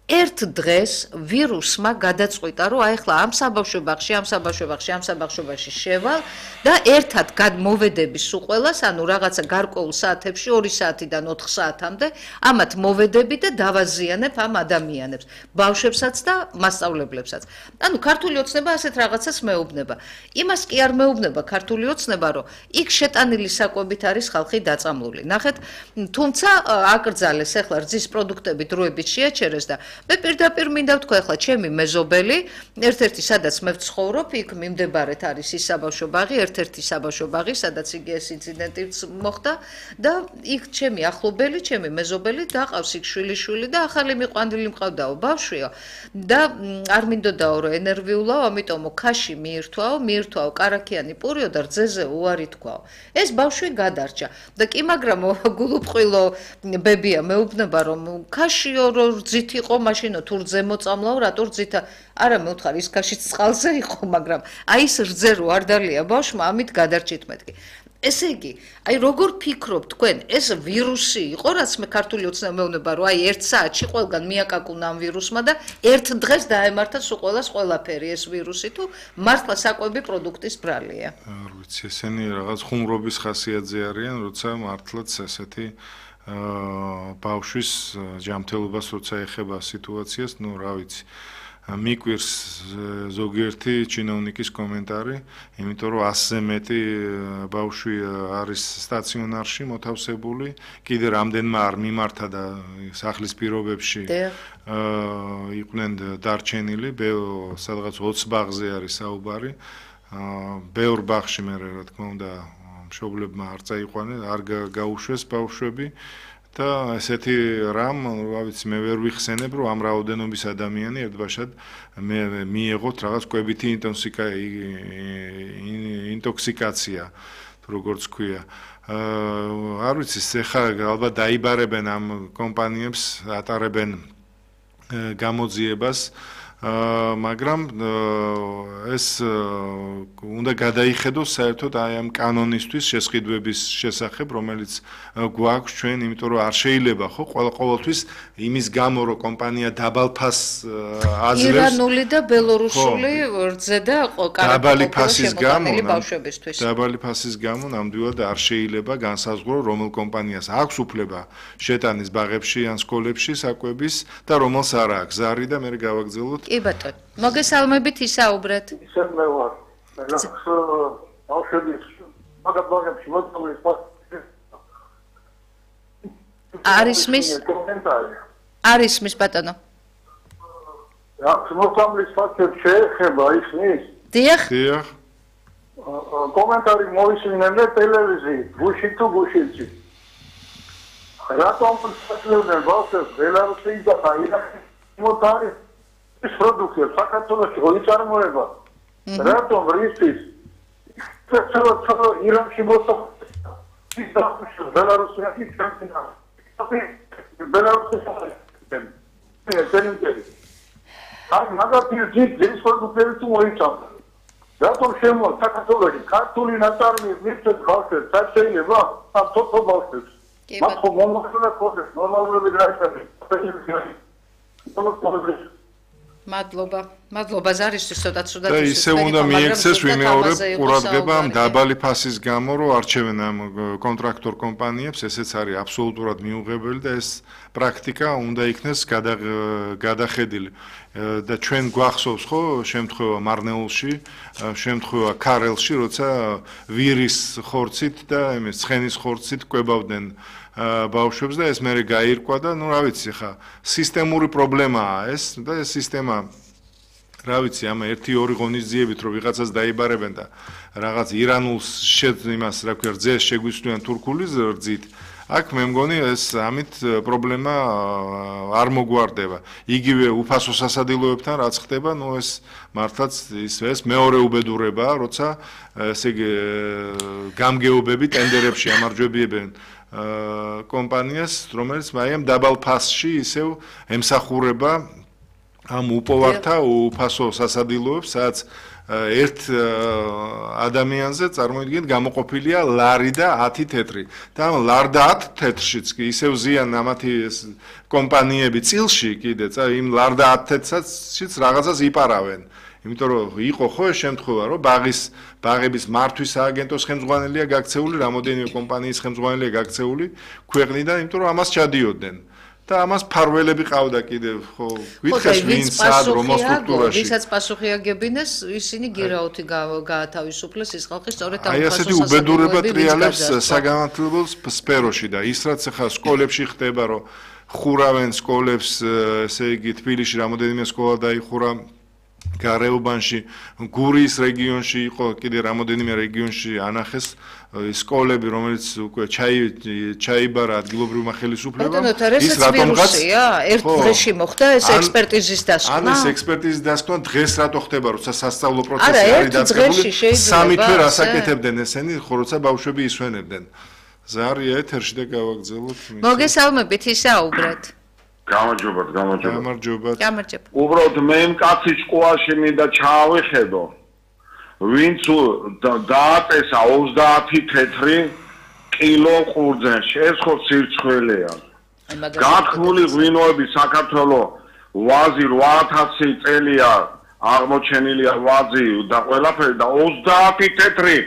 ერთ დღეს ვირუსმა გადაწყვიტა რომ აი ახლა ამ საბავშვო ბაღში, ამ საბავშვო ბაღში, ამ საბავშვო ბაღში შევალ და ერთად გადმოვედები სულ ყველას, ანუ რაღაცა გარკვეულ საათებში ორი საათიდან ოთხ საათამდე ამათ მოვედები და დავაზიანებ ამ ადამიანებს, ბავშვებსაც და მასწავლებლებსაც. ანუ ქართული ოცნება ასეთ რაღაცას მეუბნება. იმას კი არ მეუბნება ქართული ოცნება, რომ იქ შეტანილი საკვებით არის ხალხი დაწამლული. ნახეთ, თუმცა აკრძალეს ახლა რძის პროდუქტები დროებით შეაჩერეს და მე პირდაპირ მინდა ვთქვა ახლა ჩემი მეზობელი, ერთ-ერთი სადაც მე ვცხოვრობ, იქ მიმდებარედ არის ის საბავშვო ბაღი, ერთ-ერთი საბავშვო ბაღი, სადაც იგი ეს ინციდენტიც მოხდა და იქ ჩემი ახლობელი, ჩემი მეზობელი დაყავს იქ შვილიშვილი და ახალი მიყვანილი მყავდაო ბავშვიო და არ მინდოდაო რომ ენერვიულაო, ამიტომო ქაში მიირთვაო, მიირთვაო კარაქიანი პურიო და რძეზე უარი თქვაო. ეს ბავშვი გადარჩა და კი მაგრამ გულუბრყვილო ბებია მეუბნება რომ ქაშიო რო რძით იყო მაშინო თუ რძე მოწამლაო რატო რძითა არა მე ვთხარ ის ქაშიც წყალზე იყო მაგრამ აი ეს რძე რო არ დალია ბავშვმა ამით გადარჩით მეთქი ესე იგი აი როგორ ფიქრობ თქვენ ეს ვირუსი იყო რაც მე ქართული ოცნება მეუბნება რომ აი ერთ საათში ყველგან მიაკაკუნა ამ ვირუსმა და ერთ დღეს დაემართა სულ ყველას ყველაფერი ეს ვირუსი თუ მართლა საკვები პროდუქტის ბრალია არ ვიცი ესენი რაღაც ხუმრობის ხასიათზე არიან როცა მართლაც ესეთი აა ბავშვის ჯანმრთელობას როცა ეხება სიტუაციას, ну, რა ვიცი. მიკვირს ზოგიერთი ჩინოვნიკის კომენტარი, იმიტომ რომ ასზე მეტი ბავშვი არის სტაციონარში მოთავსებული, კიდე რამდენმა არ მიმართა და სახლის პირობებში აა იყვნენ დარჩენილი, სადღაც ოცი ბაღზე არის საუბარი. აა ბევრ ბაღში მე რა თქმა უნდა მშობლებმა არ წაიყვანენ, არ გაუშვეს ბავშვები და ესეთი რამ, რა ვიცი, მე ვერ ვიხსენებ, რომ ამ რაოდენობის ადამიანი ერთბაშად მე მიიღოთ რაღაც კვებითი ინტოქსიკაცია, როგორც ქვია. აა არ ვიცი, ეხლა ალბათ დაიბარებენ ამ კომპანიებს, ატარებენ გამოძიებას მაგრამ ეს უნდა გადაიხედოს საერთოდ აი ამ კანონისთვის შესყიდვების შესახებ, რომელიც გვაქვს ჩვენ, იმიტომ რომ არ შეიძლება ხო ყოველთვის იმის გამო რომ კომპანია დაბალ ფასს აძლევს ირანული და ბელორუსული რძე და დაბალი ფასის გამო ბავშვებისთვის. დაბალი ფასის გამო ნამდვილად არ შეიძლება განსაზღვრო რომელ კომპანიას აქვს უფლება შეტანის ბაღებში ან სკოლებში საკვების და რომელს არ აქვს. ზარი და მე გავაგზავნოთ კი ბატონო, მოგესალმებით ისაუბრეთ. ისე მე ვარ. ბავშვების მაგაბაგებში მოწამვლის არის მის კომენტარი. არის მის ბატონო. რა, მოსამლის ფაქტებს შეეხება ისმის? დიახ. დიახ. კომენტარი მოისმინე ტელევიზიით, გუში თუ გუშინში. რატომ ფასებდნენ ბავშვებს ბელარუსის და ირანის მოტარი ის პროდუქცია საქართველოში მოიწარმოება? რატომ რისთვის? ცოტა ირანში მოსახლე ის და ბელარუსში ჩამცინა. ბელარუსში ეს აი მაგათი ძის პროდუქტები თუ მოიწამდა. რატომ შემო საქართველოში ქართული ნაწარმოები მიწეთ ბავშვებს შეიძლება ამ თოთო ბავშვებს მათ ხომ მომხდარა ხოდეს ნორმალურები გაიხადეს მადლობა მადლობა ზარისთვის ცოტა ცუდად და ისე უნდა მიექცეს ვიმეორებ ყურადღება ამ დაბალი ფასის გამო რომ არჩევენ ამ კონტრაქტორ კომპანიებს ესეც არის აბსოლუტურად მიუღებელი და ეს პრაქტიკა უნდა იქნეს გადახედილი და ჩვენ გვახსოვს ხო შემთხვევა მარნეულში შემთხვევა ქარელში როცა ვირის ხორცით და იმის ცხენის ხორცით კვებავდნენ ბავშვებს და ეს მერე გაირკვა და ნუ რა ვიცი ხა სისტემური პრობლემაა ეს და ეს სისტემა რა ვიცი ამ ერთი ორი ღონისძიებით რომ ვიღაცას დაიბარებენ და რაღაც ირანულს შედ იმას რა ქვია რძეს შეგვისვლიან თურქული რძით აქ მე მგონი ეს ამით პრობლემა არ მოგვარდება იგივე უფასო სასადილოებთან რაც ხდება ნუ ეს მართლაც ის ეს მეორე უბედურებაა როცა ესე იგი გამგეობები ტენდერებში ამარჯვებიებენ კომპანიას რომელიც აი ამ დაბალ ფასში ისევ ემსახურება ამ უპოვართა უფასო სასადილოებს სადაც ერთ ადამიანზე წარმოიდგინეთ გამოყოფილია ლარი და ათი თეთრი და ამ ლარ და ათ თეთრშიც კი ისევ ზიან ამათი კომპანიები წილში კიდეც იმ ლარ და ათ თეთრშიც რაღაცას იპარავენ იმიტომ რომ იყო ხო ეს შემთხვევა რომ ბაღის ბაღების მართვის სააგენტოს ხელმძღვანელია გაქცეული რამოდენიმე კომპანიის ხელმძღვანელია გაქცეული ქვეყნიდან იმიტომ რომ ამას ჩადიოდნენ და ამას ფარველები ყავდა კიდევ ხო გითხეს ვინ სად რომ სტრუქტურაში ვისაც პასუხი აგებინეს ისინი გირაუთი გაათავისუფლეს ის ხალხი სწორედ ამ აი ასეთი უბედურება ტრიალებს საგანმანათლებლო სფეროში და ის რაც ახლა სკოლებში ხდება რომ ხურავენ სკოლებს ესე იგი თბილისში რამოდენიმე სკოლა დაიხურა გარეუბანში გურიის რეგიონში იყო კიდე რამოდენიმე რეგიონში ანახეს სკოლები რომელიც უკვე ჩაიბარა ადგილობრივმა ხელისუფლებამ ის რატომღაც ერთ დღეში მოხდა ეს ექსპერტიზის დასკვნა ან ეს ექსპერტიზის დასკვნა დღეს რატო ხდება როცა სასწავლო პროცესი არის დაწყებული სამი თვე რასაკეთებდნენ ესენი ხო როცა ბავშვები ისვენებდნენ ზარია ეთერში და გავაგზავნოთ მოგესალმებით ისაუბრეთ გამარჯობათ, გამარჯობათ. გამარჯობათ. გამარჯობა. უბრალოდ მე მკაცი ჭკუაში მინდა ჩავიხედო. ვინც დააწესა ოცდაათი თეთრი კილო ყურძენში. ეს ხო სირცხველეა. გათქმული ღვინოები საქართველოს ვაზი რვა ათასი წელია აღმოჩენილია ვაზი და ყველაფერი და ოცდაათი თეთრი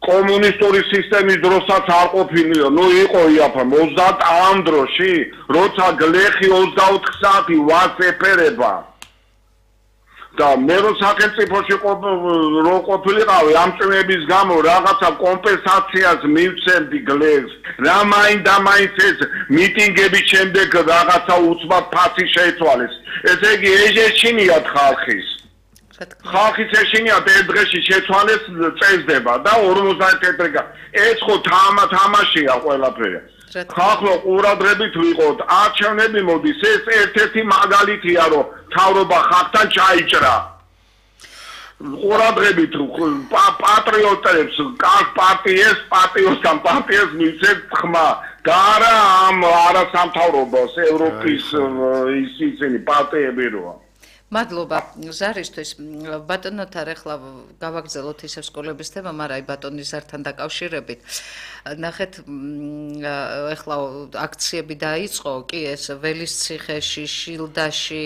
კომუნისტური სისტემის დროსაც არ ყოფილიო, ნუ იყო იაფამ ოცდაათ ამ დროში, როცა გლეხი ოცდაოთხ საათი ვას ეფერება. და მე რო სახელმწიფოში რო ყოფილიყავი ამ წვიმების გამო რაღაცა კომპენსაციას მივცემდი გლეხს. რა მაინდა მაინც ეს მიტინგების შემდეგ რაღაცა უცბად ფასი შეიცვალეს. ესე იგი ეჟეშინიათ ხალხის. ხალხის ეშინია ერთ დღეში შეცვალეს წესდება და ორმოცდაათი თეთრი ეს ხო თამა თამაშია ყველაფერი ხალხო ყურადღებით ვიყოთ არჩევნები მოდის ეს ერთ-ერთი მაგალითია რომ თავრობა ხალხთან ჩაიჭრა ყურადღებით პატრიოტებს კაც პარტიეს პარტიოსთან პარტიას მისცემ ხმა და არა ამ არასამთავრობოს ევროპის ის ისინი პარტიები როა მადლობა ზარისთვის ბატონო თარ ახლა გავაგზავნოთ ისევ სკოლების თემა, მაგრამ აი ბატონის ზართან დაკავშირებით ნახეთ ახლა აქციები დაიწყო კი ეს ველისციხეში, შილდაში,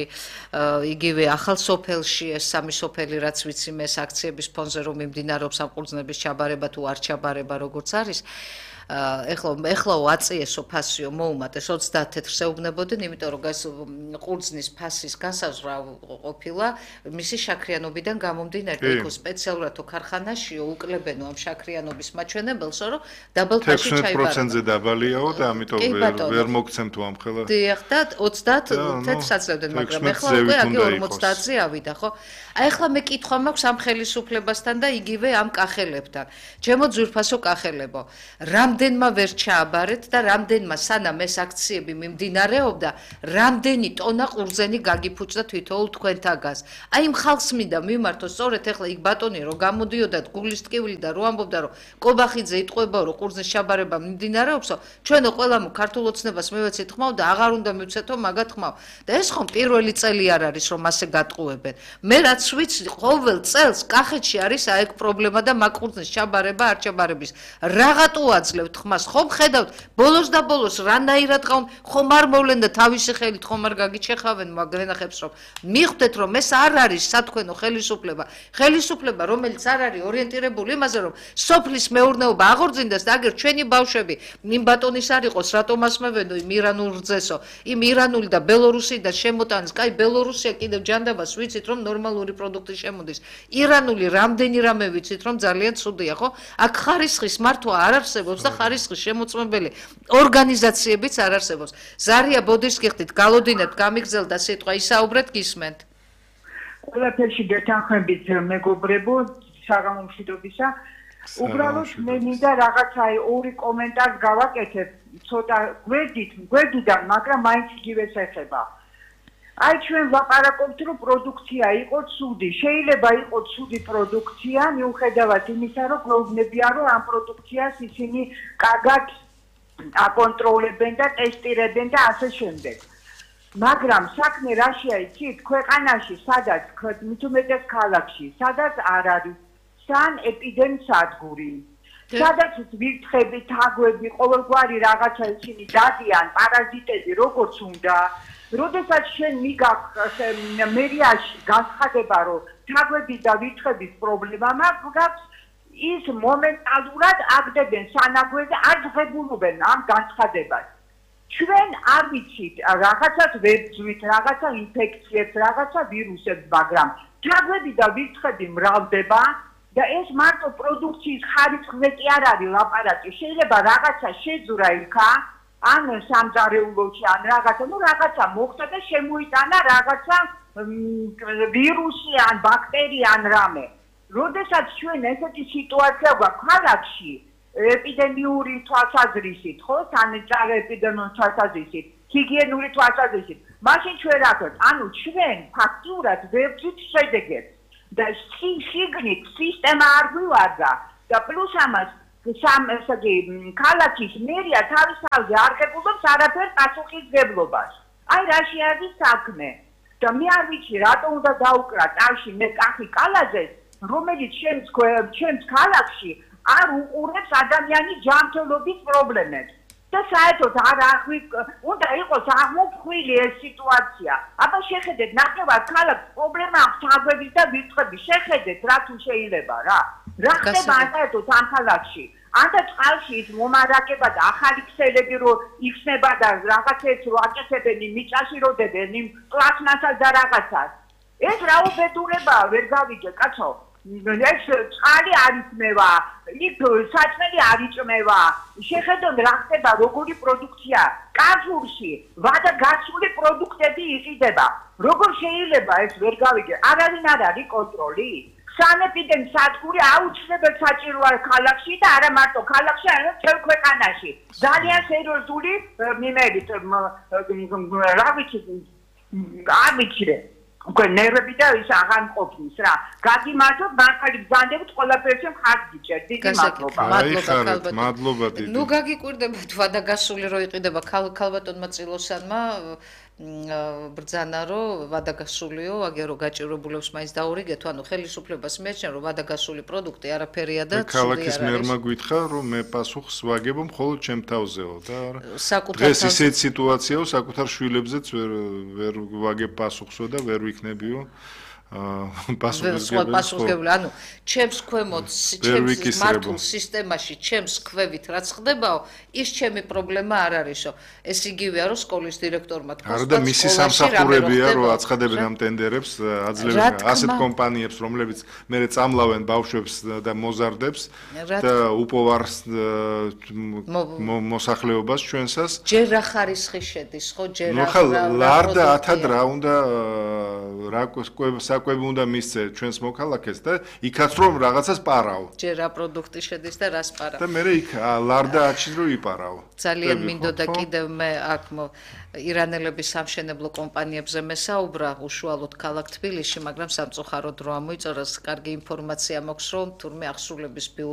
იგივე ახალსოფელში ეს სამი სოფელი რაც ვიცი მე ეს აქციების ფონზე რომ მიმდინარეობს ამ ყურძნების ჩაბარება თუ არ ჩაბარება როგორც არის ეხლა ეხლაო აწიესო ფასიო მოუმატეს ოცდაათ თეთრს ეუბნებოდნენ, იმიტომ რომ გას ყურძნის ფასის გასაზღვრა ყოფილა მისი შაქრიანობიდან გამომდინარე, იქ სპეციალურადო ქარხანაშიო უკლებენო ამ შაქრიანობის მაჩვენებელსო, რომ დაბალ ფასში ჩაიბარა. ექვსმეტ პროცენტზე დაბალიაო და ამიტომ ვერ ვერ მოგცემთ ამხელა. დიახ და ოცდაათ თეთრს აძლევდნენ, მაგრამ ეხლა უკვე აგი ორმოცდაათზე ავიდა, ხო? აი ეხლა მე კითხვა მაქვს ამ ხელისუფლებასთან და იგივე ამ კახელებთან. ჩემო ძვირფასო კახელებო, რამდენმა ვერ ჩააბარეთ და რამდენმა სანამ ეს აქციები მიმდინარეობდა, რამდენი ტონა ყურძენი გაგიფუჭდა თითოეულ თქვენთაგას. აი იმ ხალხს მინდა მიმართო, სწორედ ეხლა იქ ბატონი რო გამოდიოდა გულის ტკივილი და რო ამბობდა, რომ კობახიძე იტყვება, რომ ყურძნის ჩაბარება მიმდინარეობსო, ჩვენო ყველამ ქართულ ოცნებას მივეცით ხმაო და აღარ უნდა მივცეთო მაგათ ხმაო. და ეს ხომ პირველი წელი არ არის, რომ ასე გატყუებენ. მე რაც ვიცი, ყოველ წელს კახეთში არის აი ეგ პრობლემა და მაგ ყურძნის ჩაბარება არ ჩაბარების. რაღაცო აძლევთ ხმას, ხომ ხედავთ, ბოლოს და ბოლოს რანაირად ყავ, ხომ არ მოვლენ და თავისი ხელით ხომ არ გაგიჩეხავენ მაგენახებს, რომ მიხვდეთ, რომ ეს არ არის სათქვენო ხელისუფლება. ხელისუფლება, რომელიც არ არის ორიენტირებული იმაზე, რომ სოფლის მეურნეობა აღორძინდეს და აგერ ჩვენი ბავშვები იმ ბატონის არ იყოს, რატომ ასმევენო იმ ირანულ რძესო, იმ ირანული და ბელორუსიდან შემოტანის, კაი ბელორუსია კიდევ ჯანდაბას ვიცით, რომ ნორმალური პროდუქტი შემოდის. ირანული რამდენი რამე ვიცით, რომ ძალიან ცუდია, ხო? აქ ხარისხის მართვა არ არსებობს და ხარისხის შემოწმებელი ორგანიზაციებიც არ არსებობს. ზარია ბოდიშს გიხდით, გალოდინებთ, გამიგზელდა სიტყვა, ისაუბრეთ, გისმენთ. ყველაფერში გეთანხმებით მეგობრებო, საღამო მშვიდობისა. უბრალოდ მე მინდა რაღაცა ორი კომენტარი გავაკეთებ, ცოტა გვერდით, გვერდიდან, მაგრამ მაინც იგივეს ეხება. აი ჩვენ ვლაპარაკობთ, რომ პროდუქცია იყო ცუდი. შეიძლება იყოს ცუდი პროდუქცია, მიუხედავად იმისა, რომ გლოვნებიან, რომ ამ პროდუქციას ისინი კარგად აკონტროლებენ და ტესტირებენ და ასე შემდეგ. მაგრამ საქმე რაშია იცით, ქვეყანაში, სადაც მით უმეტეს ქალაქში, სადაც არ არის სან ეპიდემსადგური. სადაც ვირთხები, თაგვები, ყოველგვარი რაღაცა ისინი დადიან, პარაზიტები, როგორც უნდა. როდესაც შენ მიგაქვს მერიაში განცხადება, რომ თაგვები და ვირთხების პრობლემა მაქვს, ის მომენტალურად აგდებენ სანაგვეზე, არ ღებულობენ ამ განცხადებას. ჩვენ არ ვიცით რაღაცას ვებძვით, რაღაცა ინფექციებს, რაღაცა ვირუსებს, მაგრამ თაგვები და ვირთხები მრავლდება და ეს მარტო პროდუქციის ხარისხზე კი არ არის ლაპარაკი. შეიძლება რაღაცა შეძვრა იქა, ან სამზარეულოში, ან რაღაცა, ну რაღაცა მოხდა და შემოიტანა რაღაცა ვირუსი, ან ბაქტერია, ან რამე. როდესაც ჩვენ ესეთი სიტუაცია გვაქვს ქალაქში, ეპიდემიური თვალსაზრისით, ხო, სანიტარ ეპიდემიური თვალსაზრისით, ჰიგიენური თვალსაზრისით, მაშინ ჩვენ რა ვქოთ? ანუ ჩვენ ფაქტურად ვებძვით შედეგებს და შიგნით სისტემა არ გვივარდა და პლუს ამას სამ ესე იგი ქალაქის მერია თავის თავზე არ ღებულობს არაფერ პასუხისმგებლობას. აი რაში არის საქმე? და მე არ ვიცი რატო უნდა დაუკრა ტავში მე კახი კალაძეს, რომელიც ჩემს ჩემს ქალაქში არ უყურებს ადამიანის ჯანმრთელობის პრობლემებს. და საერთოდ არ აღვი უნდა იყოს აღმოფხვილი ეს სიტუაცია. აბა შეხედეთ, ნახევარ ქალაქს პრობლემა აქვს თაგვების და ვირთხების. შეხედეთ რა თუ შეიძლება რა. რა ხდება საერთოდ ამ ქალაქში? ანდა წყალში ის მომარაგება და ახალი ქსელები რო იხსნება და რაღაცებს რო აკეთებენ მიწაში როდებენ იმ პლასმასას და რაღაცას. ეს რა უბედურებაა, ვერ გავიგე, კაცო. ეს წყალი არ იწმევა, იქ საჭმელი არ იწმევა. შეხედოთ რა ხდება, როგორი პროდუქცია. კაზურში ვადა გასული პროდუქტები იყიდება. როგორ შეიძლება ეს ვერ გავიგე? არავინ არ არის კონტროლი. სანეპიდემსადგური აუცილებლად საჭიროა ქალაქში და არა მარტო ქალაქში, არამედ მთელ ქვეყანაში. ძალიან სერიოზული მიმერით რა ვიცი, არ ვიცი. უკვე ნერვები და ის აღარ მყოფნის რა. გაგიმართოთ, მართალი ბრძანდებით ყველაფერში მხარს გიჭერთ. დიდი მადლობა. მადლობა, მადლობა დიდი. ნუ გაგიკვირდება თვადა გასული რო იყიდება ქალბატონმა წილოსანმა ბრძანა რომ ვადაგასულიო, აგერ რო გაჭირებულებს მაინც დაურიგეთ, ანუ ხელისუფლებას მიაჩნია რომ ვადაგასული პროდუქტი არაფერია და ცუდი არ არის. ქალაქის მერმა გითხრა რომ მე პასუხს ვაგებ მხოლოდ ჩემ თავზეო და დღეს ისეთ სიტუაციაო, საკუთარ შვილებზეც ვერ ვერ ვაგებ პასუხსო და ვერ ვიქნებიო პასუხისმგებელი, ანუ ჩემს ქვემოთ, ჩემს მართულ სისტემაში, ჩემს ქვევით რაც ხდებაო, ის ჩემი პრობლემა არ არისო. ეს იგივეა, რომ სკოლის დირექტორმა თქვა, არა და მისი სამსახურებია, რომ აცხადებენ ამ ტენდერებს, აძლევენ ასეთ კომპანიებს, რომლებიც მერე წამლავენ ბავშვებს და მოზარდებს და უპოვარს მოსახლეობას ჩვენსას. ჯერ რა ხარისხი შედის, ხო, ჯერ რა ლარდა ათად რა უნდა რა საკვები უნდა მისცე ჩვენს მოქალაქეს და იქაც რომ რაღაცას პარავ. ჯერ რა პროდუქტი შედის და რას პარავ. და მერე იქ ლარდა აჩის რო იპარავ. ძალიან მინდოდა კიდევ მე აქ ირანელების სამშენებლო კომპანიებზე მესაუბრა უშუალოდ ქალაქ თბილისში, მაგრამ სამწუხაროდ რო ამოიწორა, კარგი ინფორმაცია მაქვს, რომ თურმე ახსრულების ბიურო